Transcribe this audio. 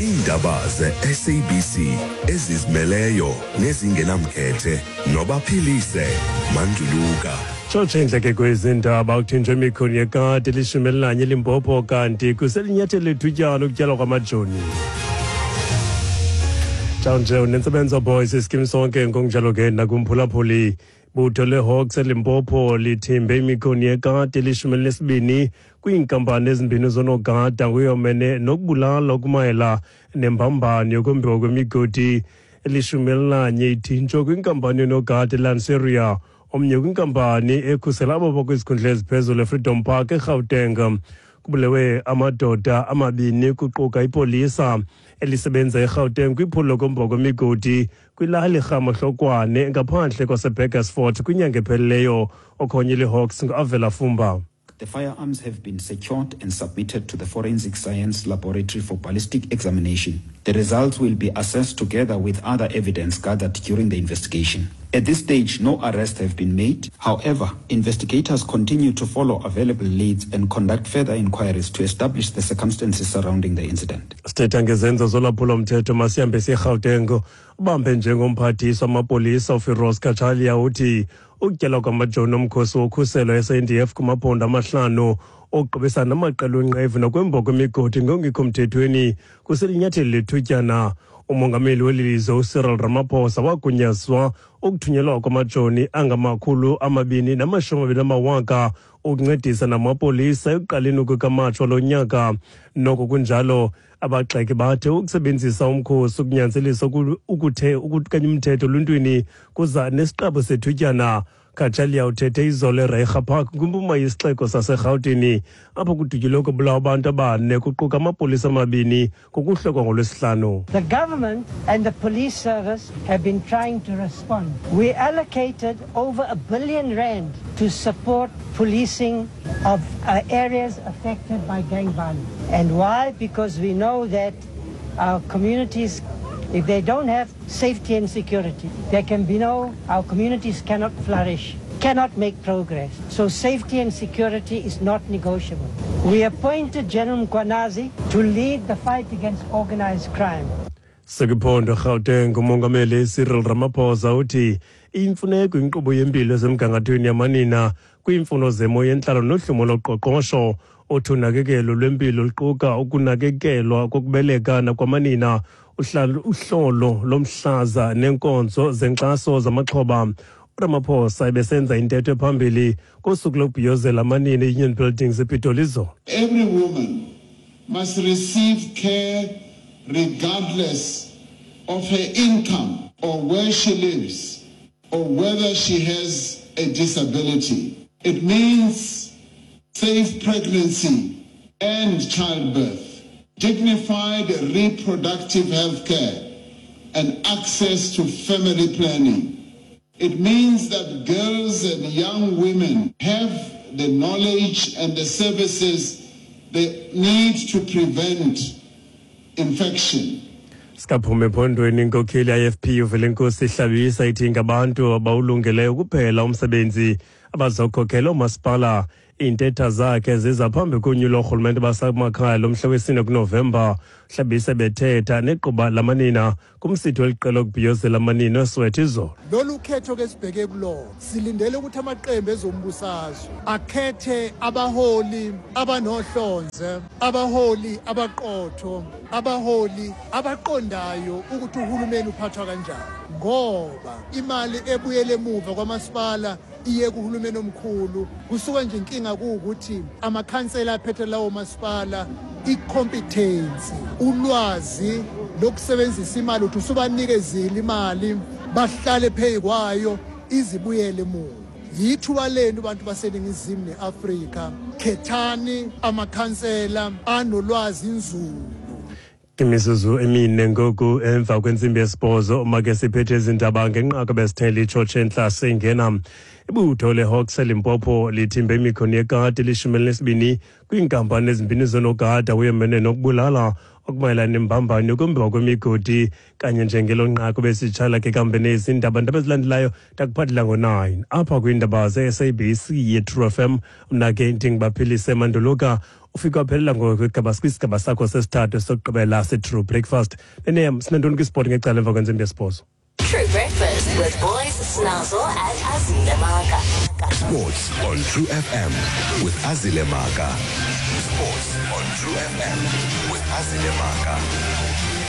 Iindaba ze-SABC ezizimeleyo nezingenamkhethe nobaphilise Manduluka. Tshotshe indleke kwezi ndaba kuthinjwe imikhoni yekati elishumi elinanye eLimpopo kanti kuselinyathelo lethutyana ukutyalwa kwamajoni. Njawunje unentsebenzo boys iskim sonke ngokunjalo ke nakumphulaphuli. Butho leHawks eLimpopo lithimbe imikhoni yekati elishumi elinesibini kwiinkampani ezimbini zoonogada nguyomene nokubulala okumayela nembambano yokombiwa kwemigodi. 11 ithinjwe kwinkampani yoonogada eLanseria, omnye kwinkampani ekhusela abo bakwizikhundla eziphezulu eFreedom Park eGauteng. Kubulewe amadoda amabini kuquka ipolisa elisebenza eGauteng kwiphulo lokombiwa kwemigodi kwilali Ramahlokwane ngaphandle kwaseBurgersfort kwinyanga ephelileyo. Okhonye liHawks nguAvela Fumba. The firearms have been secured and submitted to the Forensic Science Laboratory for ballistic examination. The results will be assessed together with other evidence gathered during the investigation. At this stage, no arrests have been made. However, investigators continue to follow available leads and conduct further inquiries to establish the circumstances surrounding the incident. Sithetha ngezenzo zolwaphulo-mthetho masihambe siye-Gauteng. Ubambe njengomphathiswa amapolisa uFiroz Cachalia uthi ukutyalwa kwamajoni omkhosi wokhuselo SANDF kumaphondo amahlanu okuqubisana namaqela onqevu nokwemba kwemigodi ngokungekho mthethweni kuselinyathelo lethutyana. Umongameli weli lizwe uCyril Ramaphosa wagunyazwa ukuthunyelwa kwamajoni angama-220 amawaka ukuncedisa namapolisa ekuqaleni kukaMatshi walo nyaka. Noko kunjalo, abagxeki bathe ukusebenzisa umkhosi ukunyanzelisa ukuthe ukukanya umthetho oluntwini kuza nesiqabo sethutyana. Cachalia uthethe izolo eReiger Park kwimpuma yesixeko saseRhawutini apho kudutyulwe kubulawa abantu abane kuquka amapolisa amabini ngokuhlokwa ngoLwesihlanu. The government and the police service have been trying to respond. We allocated over R1 billion to support policing of areas affected by gang violence. And why? Because we know that our communities, if they don't have safety and security, there can be no, our communities cannot flourish, cannot make progress. So safety and security is not negotiable. We appointed General Mkhwanazi to lead the fight against organized crime. Sekwiphondo Gauteng, umongameli Cyril Ramaphosa uthi imfuneko inkqubo yempilo esemgangathweni yamanina kwiimfuno zemo yentlalo nohlumo loqoqosho. Uthi unakekelo lwempilo luquka ukunakekelwa kokubeleka nakwamanina, uhlolo lomhlaza neenkonzo zenkxaso zamaxhoba. URamaphosa ebesenza intetho ephambili kosuku lokubhiyozela amanina e-Union Buildings ePitoli izolo. Every woman must receive care regardless of her income or where she lives or whether she has a disability. It means safe pregnancy and childbirth, dignified reproductive health care, and access to family planning. It means that girls and young women have the knowledge and the services they need to prevent infection. Sikaphuma ephondweni, inkokheli ye-IFP uVelenkosi Hlabisa ithi ngabantu abawulungeleyo kuphela umsebenzi abazokhokhela oomasipala. Iintetha zakhe ziza phambi konyulo loorhulumente basemakhaya lomhla wesine kuNovemba. Hlabisa bethetha neqhuba lamanina kumsitho weliqela okubhiyozela amanina eSoweto izolo. Lolu khetho ke sibheke kulona, silindele ukuthi amaqembu ezombusazwe akhethe abaholi abanohlonze, abaholi abaqotho, abaholi abaqondayo ukuthi uhulumeni uphathwa kanjani, ngoba imali ebuyele emuva kwamasipala iye kuhulumeni omkhulu. Kusuke nje inkinga kuwukuthi amakhansela aphethe lawo masipala, i-competence, ulwazi lokusebenzisa imali, uthi usubanikezile imali bahlale phezu kwayo izibuyele emuva. Yithuba lenu bantu baseNingizimu ne-Afrika, khethani amakhansela anolwazi nzulu. Imizuzu 4 ngoku emva kwentsimbi yesibhozo. Make siphethe izindaba ngenqaku besithele itshotshe entla singena. Ibutho leHawks eLimpopo lithimbe imikhoni yekati 12 kwiinkampani ezimbini zonogada uyemene nokubulala. okumayelana nembambano yokumbiwa kwemigodi kanye njengelo nqaku besitshala ke kambe nezi ndaba ndaba ezilandelayo ndakuphathela ngo-9 apha kwiindaba ze-sabc ye-true fm. Mna ke ndingubaphilise Manduluka. Ufike waphelela ngokwigaba kwisigaba sakho sesithathu sokugqibela se-true breakfast. Nenem sinantoni kwisport ngecala emva kwentsimbi yesibhozo. True Breakfast with Boys, Snazzle and Azile Maka. Sports on True FM with Azile Maka. Sports on True FM with Azile Maka.